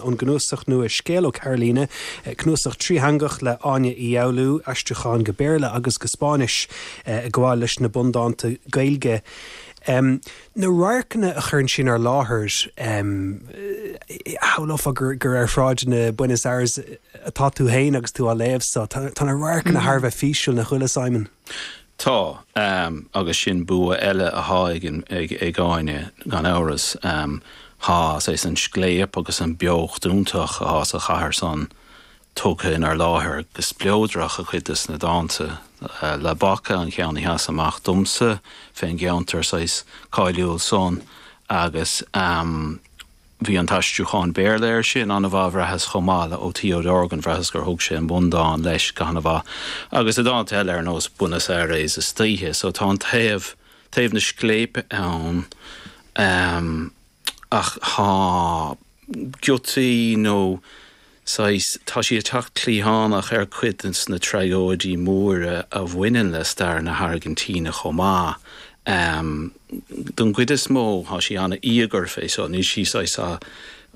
Ón gcnuasach nua Scéal ó Carolina, cnuasach trítheangach le Áine Uí Fhoghlú, aistriúcháin go Béarla agus go Spáinnis ag gabháil leis na bundánta Gaeilge. Na radharcanna a chuireann sí inár láthair, shamhlófá gur ar shráideanna Buenos Aires atá tú féin agus tú á léamh so. Tá na radharcanna thar a bheith físiúil, nach bhfuil, a Simon? Tá, agus sin bua eile athá ag Áine, gan amhras. Thá, saghas, an scléip agus an beocht iontach athá sa chathair san tugtha inár láthair go spleodrach i cuid des na dánta. La Boca an ceann a sheas amach domsa fén gceantar saghas cáiliúil san agus. Bhí an t-aistriúchán Béarla air sin an-mhaith, bhraitheas, chomh maith le ó Theo Dorgan, bhraitheas gur thug sé an bundán leis go han-mhaith. Agus i dánta eile ar nós Buenos Aires istoíche. So tá an taobh, taobh na scléipe ann ach tá giotaí nó saghas, tá sí ag teacht cliathánach ar cuid de na tragóidí móra a bhaineann le stair na hAirgintíne chomh maith. Don gcuid is mó, tá sí an-íogair fé so, níl sí saghas á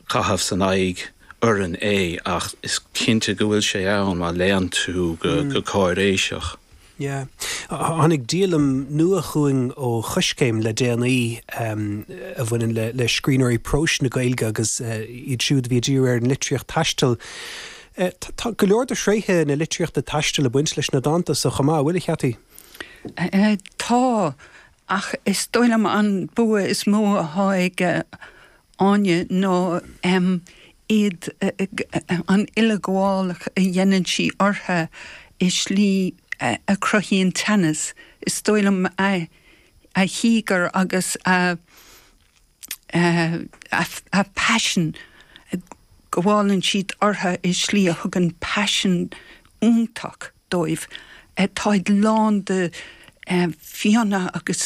chaitheamh san aghaidh orainn é ach is cinnte go bhfuil sé ann má léann tú go cáiréiseach. Yeah. Tháinig díolaim nua chugainn ó Choiscéim le déanaí a bhaineann le scríbhneoirí próis na Gaeilge agus iad siúd a bhí ag díriú ar an litríocht taistil. Tá go leor de thréithe na litríochta taistil ag baint leis na dánta so chomh maith, an bhfuil, a Cheaití? Tá, ach is dóigh liom an bua is mó athá ag Áine ná iad, an uileghabhálach a dhéanann sí orthu i slí a chruthaíonn teannas. Is dóigh liom a híogair agus a a paisean, gabhálann siad orthu i slí a thugann paisean iontach dóibh. Táid lán de fionnadh agus.